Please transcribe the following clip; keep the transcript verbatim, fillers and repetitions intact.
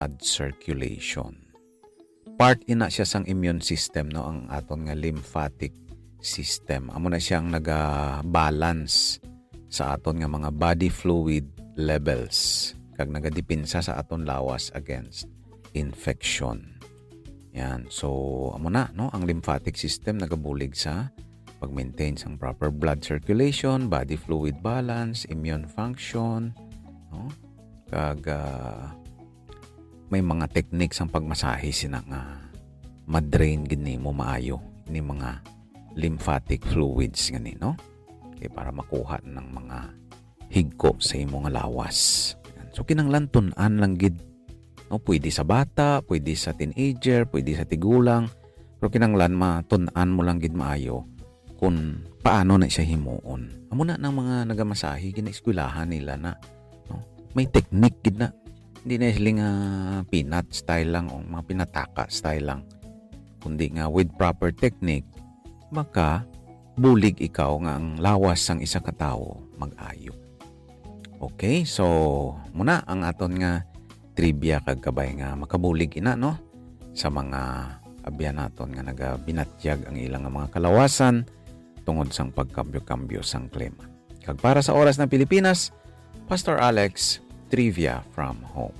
blood circulation. Part ina siya sang immune system, no, ang aton nga lymphatic system. Amo na siya ang naga-balance sa aton nga mga body fluid levels kag nagadepensa sa aton lawas against infection. Yan. So, amo na, no, ang lymphatic system nagabulig sa pag-maintain sang proper blood circulation, body fluid balance, immune function, no? Kag, ah, may mga techniques ang pagmasahe sina nga ma-drain gid nimo maayo ni mga lymphatic fluids nga ni, no? Kay para makuha ng mga higko sa imo nga lawas. Yan. So, kinahanglan tun-an lang gid, no? Pwede sa bata, pwede sa teenager, pwede sa tigulang, pero kinahanglan matun-an mo lang gid maayo kung paano na siya himuon. Amo na nang mga nagamasahe, ginaeskwelahan nila na, no? May technique gid na. Hindi na sila nga peanut style lang o mga pinataka style lang. Kundi nga with proper technique, maka bulig ikaw nga ang lawas sang isa ka tawo mag-ayo. Okay, so muna ang aton nga trivia kag kabay nga makabulig ina, no, sa mga abyan naton nga nagabinatyag ang ilang nga mga kalawasan tungod sang pagkambyo-kambyo sang klima. Kag para sa Oras ng Pilipinas, Pastor Alex, Trivia from Home.